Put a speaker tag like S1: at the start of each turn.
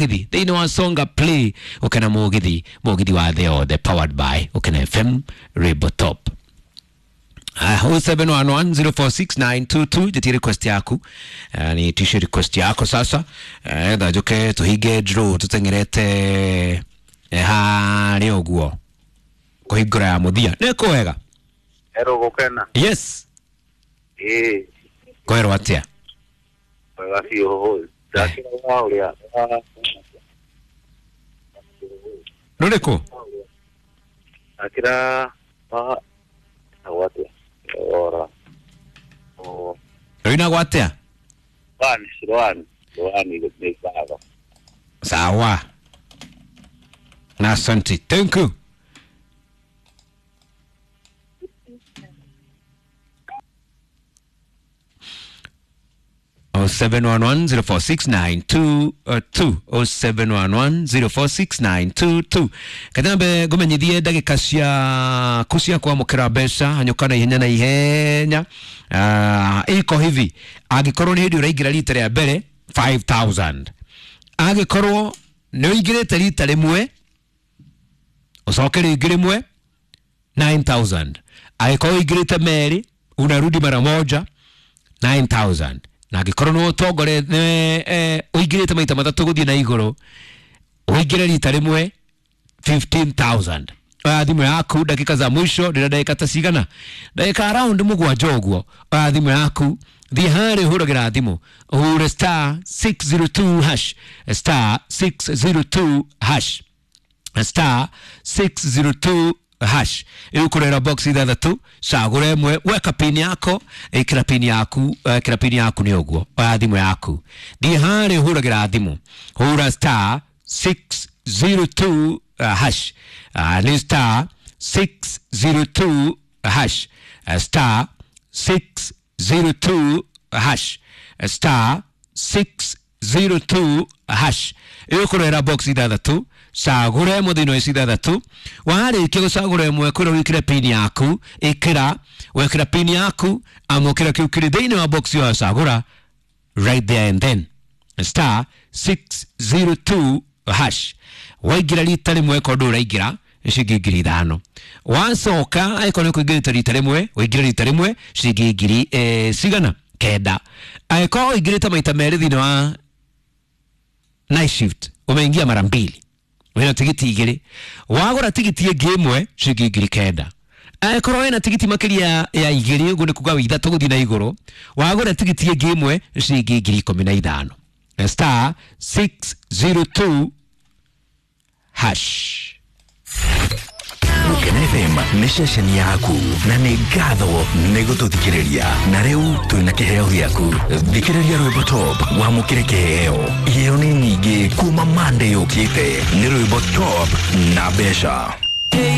S1: Mũgithi thĩinĩ wa Songa Play ũkena mũgithi mũgithi wa thĩ yothe powered by Ũkena FM Rainbow Top. 0711046922 njĩtie request yaku. Ni tishe request yako sasa. Etha njuke tuhinge draw tuteng'erete harĩa ũguo kũhingũra ya mũthia nĩ kwega.
S2: Ero gukena.
S1: Yes.
S2: Ĩĩ.
S1: Kwerwo atĩa?
S2: Wega biũ. Ndakĩra wa ũrĩa.
S1: Rũrĩkũ?
S2: Ndakĩra wa atĩa? Ora.
S1: Rũinagwo atĩa?
S2: Rwani, rwani, rwani nĩ ngatho.
S1: Sawa. Na asante. Thank you. Oh 0711046922 0711046922 katambe ngumenyithie ndagika ciaku cia kwamũkĩra mbeca hanyũka na ihenya na ihenya. Iko hivi, angĩkorwo nĩ hĩndĩ ũraingĩra rita rĩa mbere 5000, angĩkorwo nĩ ũingĩrĩte rita rĩmwe ũcoke rĩngĩ rĩmwe 9000, angĩkorwo ũingĩrĩte merĩ unarudi mara moja 9000, na angĩkorwo nĩ ũtongore ũingĩrĩte maita matatũ gũthiĩ na igũrũ ũingĩre rita rĩmwe 15000. Oya thimũ yaku ndagĩka za mwisho ndĩra ndagĩka ta cigana, ndagĩka around mũgwanja ũguo. Oya thimũ yaku thiĩ harĩa ũhũragĩra thimũ ũhure star 602 hash, star 602 hash, star 602 hash. Ĩgũkũrehera box ithathatũ, cagũra ĩmwe, weka pin yako, ĩkĩra pin yaku, ĩkĩra pin yaku nĩ ũguo. Oya thimũ yaku thiĩ harĩa ũhũragĩra thimũ hũra star 602 hash. Nĩ star 602 hash, star 602 hash, star 602 hash. Ĩgũkũrehera box ithathatũ, cagũra ĩmwe thĩinĩ wa ici ithathatũ. Warĩkia gũcagũra ĩmwe kwĩra wĩkĩre pin yaku, ĩkĩra, wekĩra pin yaku amũkĩra kĩu kĩrĩ thĩinĩ wa box ĩyo wacagũra right there and then, star 602 hash. Waingĩra rita rĩmwe korwo ndũraingĩra ciringi 5000, wacoka angĩkorwo nĩ ũkũingĩrĩte rita rĩmwe ũingĩre rita rĩmwe ciringi ngiri cigana kenda. Angĩkorwo ũingĩrĩte maita merĩ thĩinĩ wa night shift umeingia mara mbili wĩna tigiti igĩrĩ, wagũra tigiti ĩngĩ ĩmwe ciringi 9000. Angĩkorwo wĩna tigiti makĩria ya igĩrĩ ũguo nĩ kuga wĩ ithatũ gũthiĩ na igũrũ, wagũra tigiti ĩngĩ ĩmwe ciringi 15000. Star 602 hash.
S3: Gũkena FM nĩ ceceni yaku na nĩ ngatho nĩ gũtũthikĩrĩria, na rĩu twĩna kĩheo gĩaku. Thikĩrĩria rwĩmbo top wamũkĩre kĩheo. Iheo nĩ nyingĩ kuma Monday yũkĩte, nĩ rwĩmbo top na mbeca.